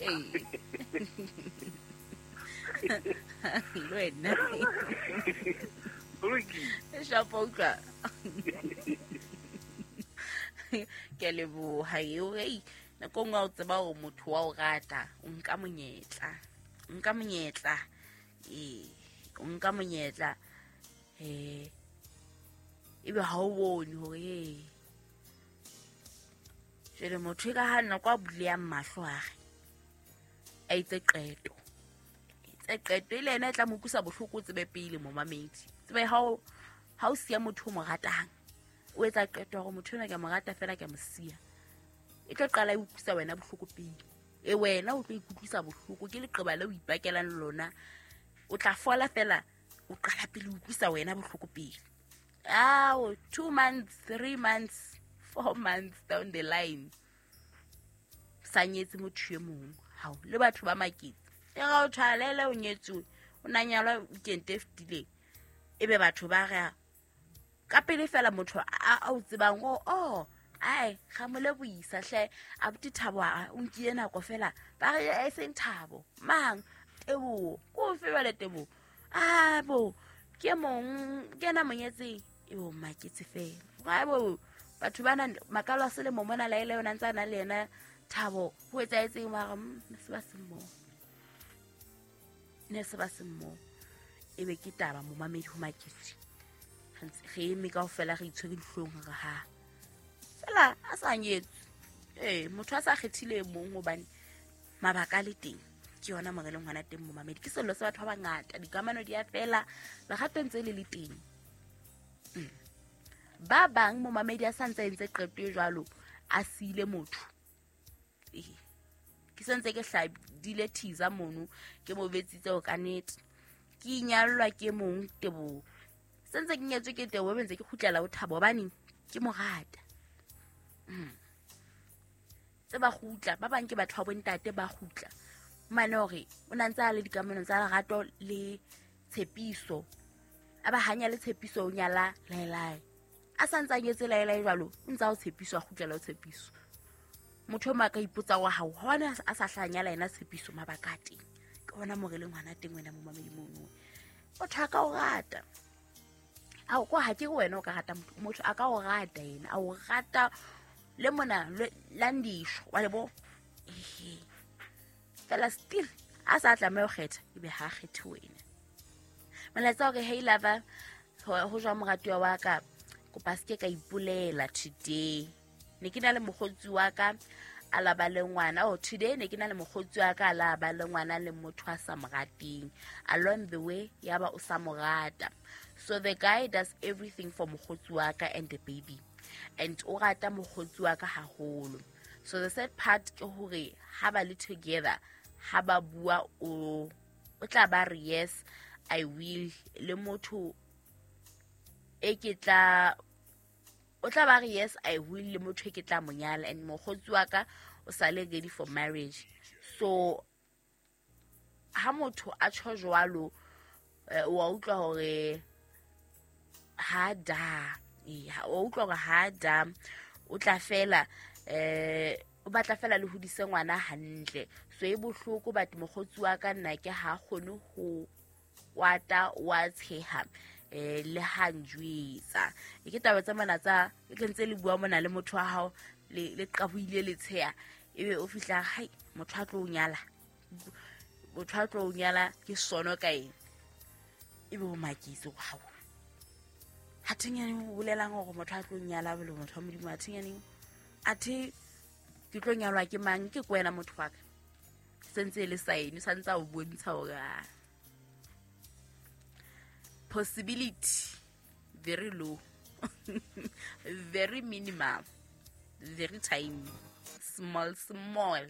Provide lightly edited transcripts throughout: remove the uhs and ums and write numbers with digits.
Ee. Le wena. Go lokile. Shapo utlwa. Ke a leboha eo. Hei, nako e nngwe ha o tseba hore motho wa o rata, o nka monyetla. O nka monyetla. Ee, o nka monyetla. Ebe ha o bone hore ee. Jwale motho e ka ha nako a buleyang mahlo a re a itse qeto. Itse qeto e le yena e tla mo utlwisa bohloko, o tsebe pele momamedi. Tsebe ha o siya motho o mo ratang, o etsa qeto ya hore motho enwa ke a mo rata fela ke a mo siya. E tlo qala e utlwisa wena bohloko pele. E wena o tlo ikutlwisa bohloko ke leqeba le o ipakelang lona. O tla fola fela, o qala pele o utlwisa wena bohloko pele. Ao, 2 months, 3 months, 4 months down the line. Sa nyetse motho e mong. Hao, le batho ba maketse. E ga o tshwalele o nyetsuwe, o na nyalwa weekend e fetileng. Ebe batho ba re ka pele fela motho a o tsebang o, oh, ai, ga mo lebohisa hle, abuti Thabo a o nkile nako fela. Ba re e seng Thabo, mang? Teboho. Ko fe jwale Teboho? Ah, bo, ke mong, ke ena monyetseng. E bo maketse fela. Ai bo, batho ba nang makalo a selemo mona la ile yona ntse a na le yena Thabo, ho etsahetseng mara, ne se ba se mmoho. Ne se ba se mmoho. Ebe ke taba momamedi ho maketse. Re ntse re eme kaofela re itshwere dihlong hore ha. Fela a sa nyetswe. Ee, motho a sa kgethile e mong hobane mabaka a le teng. Ke yona mo re leng hona teng momamedi. Ke sello sa batho ba bangata, dikamano di a fela, lerato ntse le le teng. Ba bang momamedi a sa ntse a entse qeto e jwalo, a siile motho. Ee. Ke sentse ke hlabile thiza mono, ke mo betsitse ho ka nnete. Ke inyallwa ke mong Teboho. Sentse ke nyetswe ke Teboho, be ntse ke kgutlela ho Thabo hobane ke mo rata. Tse ba kgutla, ba bang ke batho ba bontate ba kgutla. Mane hore o na ntse a le dikamanong tsa lerato le tshepiso. A ba hanya le tshepiso o nyala laelae. A sa ntse a nyetse laelae jwalo, o ntse a o tshepiso, a kgutlela o tshepiso. Motho o mong a ka ipotsa wa hao, ha ona a sa hla nyala yena tshepiso mabaka a teng. Ke hona mo re leng hona teng wena momamedi mono. Motho a ka o rata. Ao, ko ha ke re wena o ka rata motho, motho a ka o rata yena, a o rata le mona, le, landisho, wa le bo? Ehe. Fela still, a sa tlameha ho kgetha, ebe ha a kgethe wena. Molaetsa hore, hey lover, ho jwang moratuwa wa ka, kopa se ke ka ipolela today. Ne ke na le mokgotsi wa ka, a la ba le ngwana. Oh, today ne ke na le mokgotsi wa ka, a la ba le ngwana le motho a sa mo rateng. Along the way, ya ba o sa mo rata. So the guy does everything for mokgotsi wa ka and the baby. And o rata mokgotsi wa ka haholo. So the sad part ke hore ha ba le together, ha ba bua o tla ba re yes, I will. Le motho e ke tla, o tla ba re yes, I will le motho e ke tla mo nyala. And mokgotsi wa ka o sa le ready for marriage. So ha motho a tjho jwalo, wa utlwa hore ha da, ee, ha, wa utlwa hore ha da, o tla fela, o batla fela le hodise ngwana hantle. So e bohloko, but mokgotsi wa ka nna ke ha kgone ho kwata, wa tsheha, le ha njwetsa. E ke taba tsa mona tsa, e ke ntse le bua mona le motho wa hao, le qabohile le tsheha. Ebe o fihla, hai, motho a tlo o nyala. Motho a tlo o nyala ke sono ka eng? Ebe o maketse hore hao. Ha thenyane o bolelang hore motho a tlo nyala le motho wa Modimo, ha thenyane, athe ke tlo nyalwa ke mang? Ke kwena motho wa ka. Sentse e le sign, sa ntse a o bontsha hore, ah, possibility very low, very minimal, very tiny, small, small.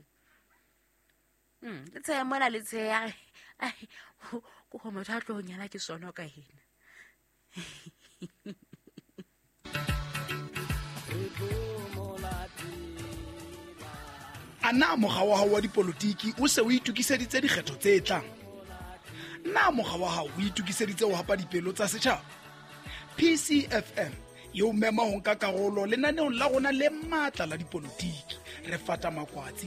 Le tsheya mona, le tsheya, ai, ko go motho a tlo nyala ke sono ka ena. A na mokga wa hao wa dipolotiki o se o itokiseditse dikgetho tse tlang? Na mokga wa hao o itokiseditse ho hapa dipelo tsa setjhaba? PCFM e o mema ho nka karolo lenaneong la rona le matla la dipolotiki. Re fata makwatsi